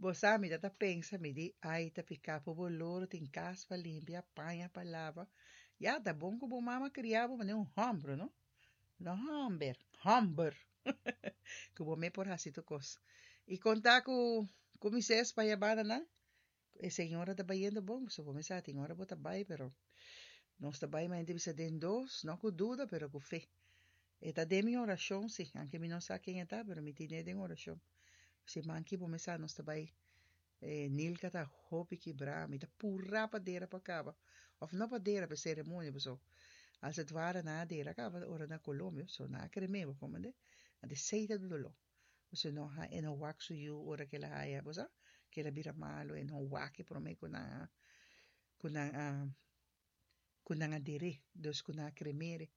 Bo sa mi ta ta pensa mi di ay ta pica pa bo loro tin cas pa limpia paña pa laba ya ta bon cu bo mama cria bo manera un homber no no homber homber cu bo me por haci tur cos y conta cu cu mi ses pa ya banda nan e señora ta bayendo bon so bo me sa tin ora bo ta bay pero nos ta bay manera bisa den dos no cu duda pero cu fe E ta den mi orashon, si, anke mi no sa ken e ta, pero mi tin'é den orashon. Siman ki bo mesa nos ta bai, e Nilka ta hopi kibrá, mi ta purá pa dera pa kaba, òf no pa dera, pa e seremonia, paso als het ware nan a dera kaba ora na Colombia, so nan a krem'é, bo komprende? Anto esei ta doló, paso e no ha, e no wak su yu ora ku el a haya, bo sa, ku el a bira malu, e no wak e promé ku nan a, ku nan a. ku nan a der'é, dus ku nan a kremer'é.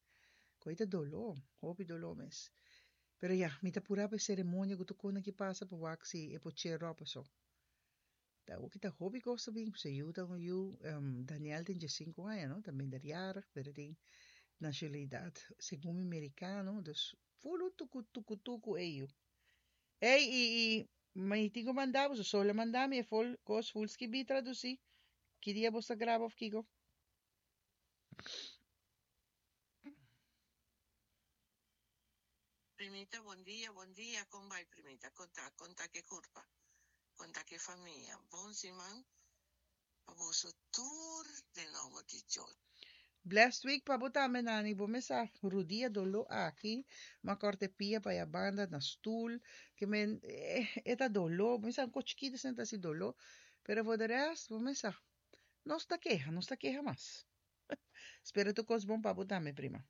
Ku ei ta doló, hopi doló mes. Pero ya, mi ta purá pa e seremonia ku tur kos nan ki pasa pa wak si e por cher ròp aso. Ta awor ta hopi kos ta bin, pasobra yu ta un yu, Daniel tin diesinku aña no, ta minderjarig, pero e tin nashonalidat segun mi merikano, dus ful un tuku tuku tuku e yu. Ey, i, i, mi tin ku manda bo, so lo manda mi e fol kos ful skibí tradusí. Ki dia bo sa graba òf kiko? Primita, bon dia, bon dia, kon bai Primita? Kon ta? Kon ta ke kurpa? Kon ta ke famia? Bon siman pa boso tur den nomber di Dios. Blessed week pa bo tambe Nani, bo mes sa rudia dolo aki, m'a corta e pia pa ya banda na stoel, ke men e ta dolo, bo mes sa un ko chikito asina ta hasi dolo, pero for de rest bo mes sa, nos ta keha, nos ta keha mas. Spera tur kos bon pa bo tambe prima.